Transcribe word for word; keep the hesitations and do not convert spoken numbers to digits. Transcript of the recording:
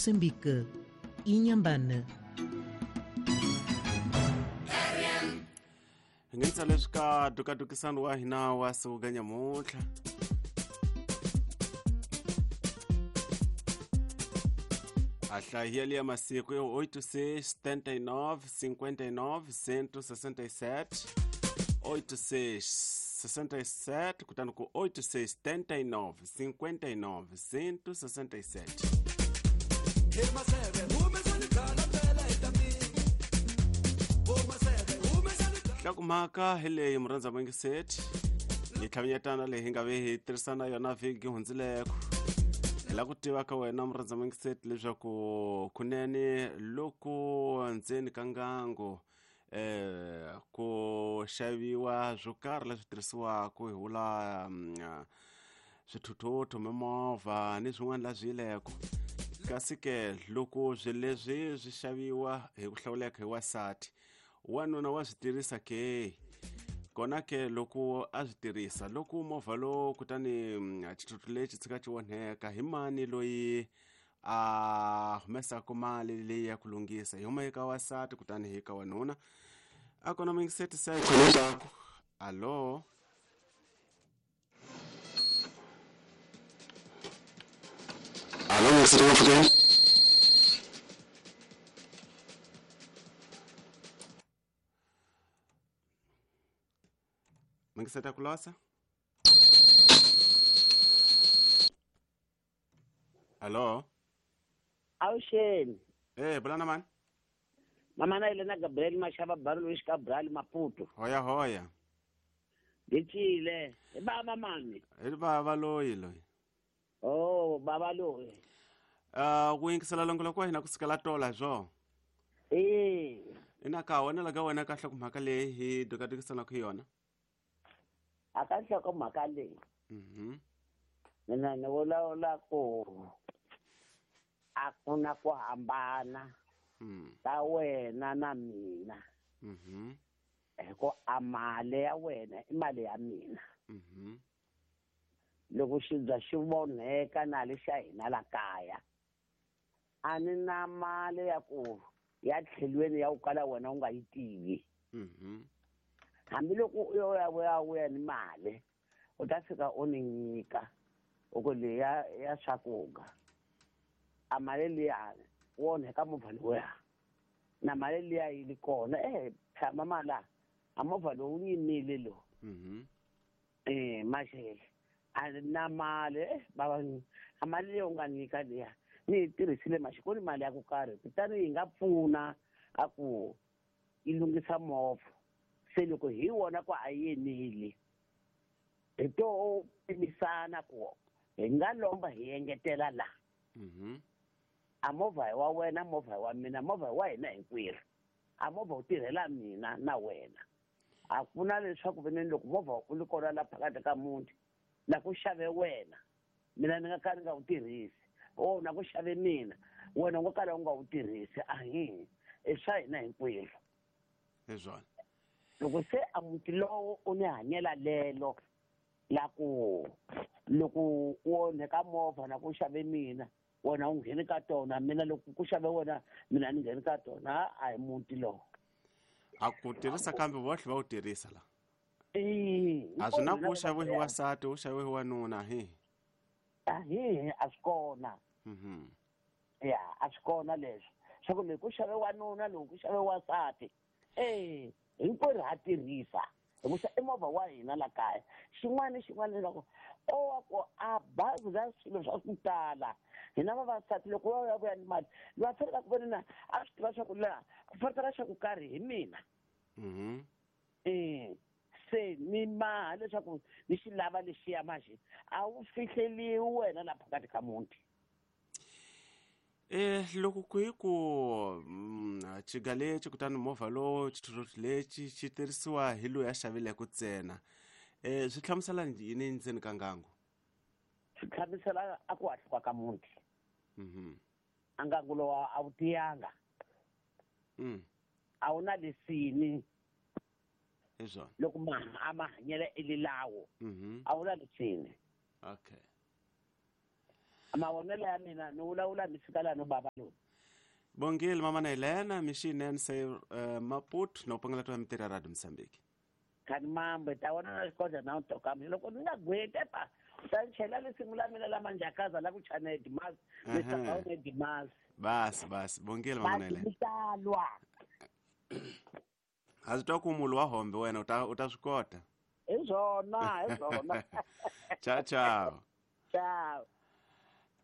Moçambique, Inhambane. Hi leswi ka dukadukisano wa hina wa siku nyamuntlha a hlahiyeli ya masiku yo oito seis setenta e nove cinquenta e nove cento sessenta e sete oito seis sessenta e sete kutani ku oito seis setenta e nove cinquenta e nove cento sessenta e sete. Mhaka hi leyi murhandza mangiseti yi tlhavinyetana leyi hi nga ve hi tirhisana yona vhiki hundzileko hi lava ku tiva ka wena murhandza mangiseti leswaku kunene loko ndzeni ka ngango eh ku xaviwa swo karhi leswi tirhisiwaka hi vula swithuthuthu mimovha ni swin'wana la swiyileko kasi ke loko swilo leswi swi xaviwa hi ku hlawuleka hi wasati wanuna wa swi tirhisa ke kona ke loko a swi tirhisa loko movha lowu kutani xithuthuthu lexi tshika xi onheka hi mani loyi a humesaka mali leyi ya ku lunghisa hi huma eka wasati kutani hi ka wanuna a kona mingiseti se leswaku alo alo mingiseti wa pfukeni Mangiseta kulosa? Hello? Awuxeni. Eh, bulana mani? Mama na Elena Gabriel Mashaba Barolo Luis Cabral Maputo. Hoya hoya. Ngicile. E baba mani? E baba loyi loyi. Oh, baba loyi. Ah, uh, ku yingisela longo kwa hina kusukela tola zwo. Eh. Ina ka wena la ka wena kahle ku mhaka leyi hi dukadukisana ku yona. Akahle ko mhaka leyi. Mhm. Mina ni vulavula ku a ku na ku hambana mm. ka wena na mina. Mhm. Hi ku a mali ya wena i mali ya mina. Mhm. Loko xibya xi vonheka na le xa hina la kaya a ni na mali ya ku ya tlhelweni ya ku kala wena u nga yi tivi. Mhm. Hambiloko u yo ya vuya vuya ni mali u ta fika u ni nyika u ku leya ya swakudya a mali liya wu onheka movha lowuya na mali liya yi li kona eh tshama mala a movha lowu wu yimile lowu. Mhm. Eh maxele a na mali eh baba a mali leyi u nga nyika liya ni yi tirhisile maxi ku ni mali ya ku karhi kutani yi nga pfuna a ku yi lunghisa movha se loko hi wona ku a yeneli hi to pimisana ku hi nga lomba hi engetela la. Mhm. A movha hi wa wena movha hi wa mina movha hi wa hina hinkwerhu a movha wu tirhela mina na wena a ku na leswaku veneni loko movha u li kona la phakathi ka muti na ku xave wena mina ni nga ka ni nga wu tirhisi o na ku xave mina wena u nga kala u nga wu tirhisi ahi i swa hina hinkwerhu. Hi swona. Loko se a muti lowo u ni hanyela lelo la ku loko u onheka movha na ku xave mina wena u ngheni ka tona mina loko ku xave wena mina ni ngheni ka tona a hi muti lowo. A ku tirhisa kambe vohle va wu tirhisa la. Eh. A swi na ku xaviwe hi wasati u xaviwe hi wanuna hi. Ahi a swi kona. Mhm. Ya a swi kona leswo swa ku loko ku xave wanuna loko ku xave wasati eh hinkwerhu ha tirhisa hikusa i movha wa hina la kaya xin'wana ni xin'wana loko o wa ku a bazi la swilo swa ku tala hina vavasati loko va ya vuya ni mali va fanele ku vona a swi tiva swa ku laha ku fanele swa ku karhi hi mina. Mhm. Eh se ni maha leswaku ni xi lava lexiya manje a wu fihleliwi wena la phakathi ka muti. Eh loko ku hi ku xiga lexi kutani movha lowu xithuthuthu lexi xi tirhisiwa hi loyi a xavileke ntsena eh swi hlamusela yini ndzeni ka ngango? Swi hlamusela a ku hahluka ka muti. Mhm. A ngango lowu a wu tiyanga. Mm. A wu na lesini. Hi swona. Loko ma a ma hanyela elilawo. Mhm. A wu na lesini. Okay. Mavonelo ya mina ni vulavula ni fika laha no bava lowu. Bongile mama na Helena mixinene se uh, Maputo na u pangela twa mitirho ya Radio Mozambique. Khani mambo ta vona na xikodla na u tokami loko ni nga gwete pa u ta ni chela lisimu la mina la manjakaza la ku chana edimasi Ehe. ni edimasi. Basi basi bongile mama na basi Helena. mi ta lwa. A swi twa ku mulu wa hombe wena u ta u ta swi kota. Hi swona hi swona. Ciao ciao. Ciao.